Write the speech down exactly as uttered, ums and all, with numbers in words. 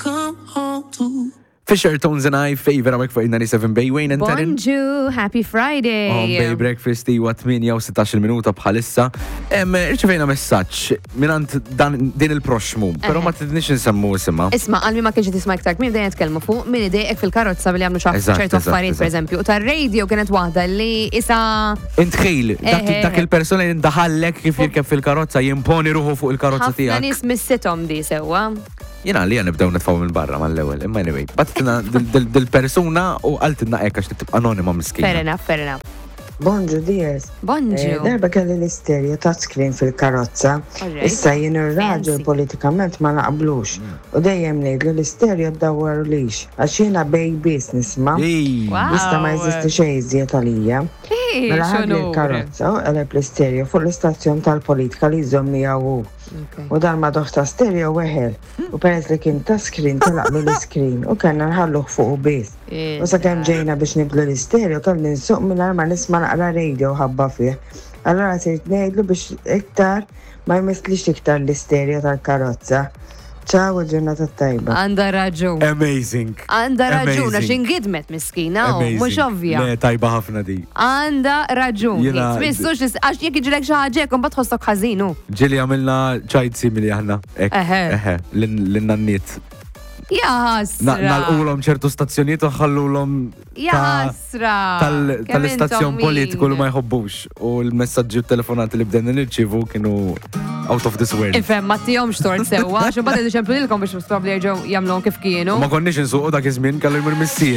come home to. Fisher Tones and I favor hawnhekk fuq il-ninety-seven Bay Wayne and Taryn. Bonġu, happy Friday. On Bay Breakfast huwa tmienja u sittax-il minuta bħalissa. Em, Irċevejna messaġġ mingħand dan din il-proxmu, però ma tridniex nsemmu isimha. Isma', għal min ma kienx tisma' iktar kmin dejjem nitkellmu fuq min idejqek fil-karozza billi għamlu ċaf Eżatt, ċertu eżatt, affarijiet, eżatt. per eżempju. U tar-radio kienet waħda li isa Intħil, dak, Eħe. dak il-persona li ndaħallek kif jirkeb fil-karozza, jimponi ruħu fuq il-karozza Ħafna tiegħek. nies missithom di sewwa. Jiena li nibdew nitfgħu minn barra mal-ewwel, imma anyway. Bagħtitilna dil-persuna u qaltilna hekk għax tibqa' anonima miskina. Fair enough, fair enough. Bonġu, dears. Bonġu. Eh, darba kelli l-istereo touchscreen fil-karozza. Alright. Issa jien ir-raġel Fancy. politikament ma naqblux. U dejjem ngħidlu l-istereo ddawwarlix. Għax jiena babies nisma'. Ej. Wow. Jista' ma jeżisti xejn iżjed għalija. Ej, Mela ħadli x'onur. l-karozza u qeleb l-istereo fuq l-istazzjon tal-politika li jżomm miegħu hu. Okay. U dan ma doħ ta' stereo weħel. U peress li kien ta' screen telaqlu l-screen u kellna nħalluh fuq biss. U sakemm ġejna biex nibdlu l-istereo kelli nsuq mingħajr ma nisma' naqra radio ħabba fih. Allora sirt ngħidlu biex iktar ma jmisslix iktar l-istereo tal-karozza. Ċaw, ġurnata tajba. Għanda raġun. Amazing. Għanda raġun, għax Amazing. ingidmet miskina, u Amazing. mhux ovvja. Le, tajba ħafna di. Għanda raġun. Jiena- Tmissux, għax jekk jiġrilek xi ħaġa hekk, mbagħad tħossok ħażin hu. Ġieli għamilna ċajt simili aħna. Ek, Eħe. eħe, lin-nanniet. Ja ħasra. Nagħlqulhom ċertu stazzjonijiet u ħallulhom Ja ta' ħasra. tal- Kemm tal-istazzjon intom politiku li min. ma jħobbux u l-messaġġi u telefonati li bdejna nirċivu kienu out of this world. Ifhem, ma tihomx tort sewwa, għax imbagħad iċemplu lilkom biex probabbli jerġgħu jagħmluhom kif kienu. Ma konniex insuqu dak iż-żmien, kellu jmur missier.